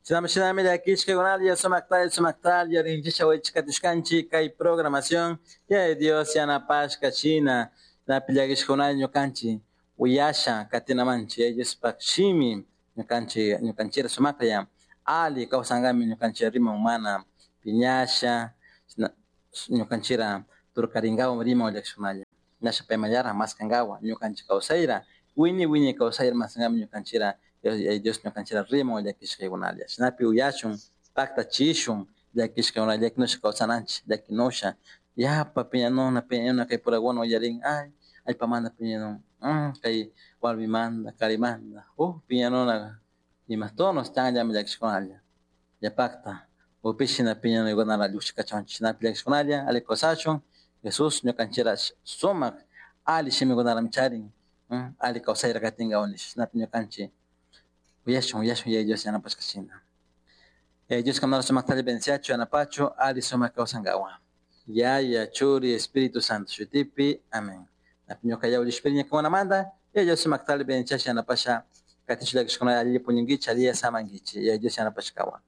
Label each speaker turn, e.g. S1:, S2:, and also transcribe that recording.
S1: Shinami shinami llakishkakunalla sumaktalla sumaktalla rinchisha waychikatishkanchik kay programación Yaya Dios yanapashka shina napi llakishkakunalla ñukanchik uyasha katinamanchik Yaya Diospak shimi ñukanchik ñukanchira sumaklla ali kawsankami ñukanchik riman mana piñasha ñukanchira turkarinkawa riman llakishkunalla nasha paymallara maskankawa ñukanchik kawsayra wiñay wiñay kawsayra maskankami ñukanchira Yaya Dios ñukanchira riman llakishkaykunalla shinapi uyashun paktachishun llakishkakuna llakinusha kawsananchik llakinusha yapa piñanuna piñanuna kay purakuna uyarin ay allpamanta piñanun kay warmimanta karimanta huk piñanuna ima tonos chanllami llakishkunalla yapakta upish shina piñanuykunara llukshikachunchik shinapi llakishkunalla alli kawsashun Jesús ñukanchira sumak alli shimikunarami charin alli kawsayra katinkawan nish shinapi ñukanchik uyashun uyashun Yaya Dios yanapashka shina. Yaya Dios kanara sumaktalla bendiciachu yanapachu alli sumak kawsankawan. Yaya, Churi, Espíritu Santo shutipi. Amén. Napi ñuka yawlishpiri ñukakunamanta Yaya Dios sumaktalla bendiciasha yanapasha katinchu llakishkuna alli puñunkichik alli samankichik Yaya Dios yanapashkawan.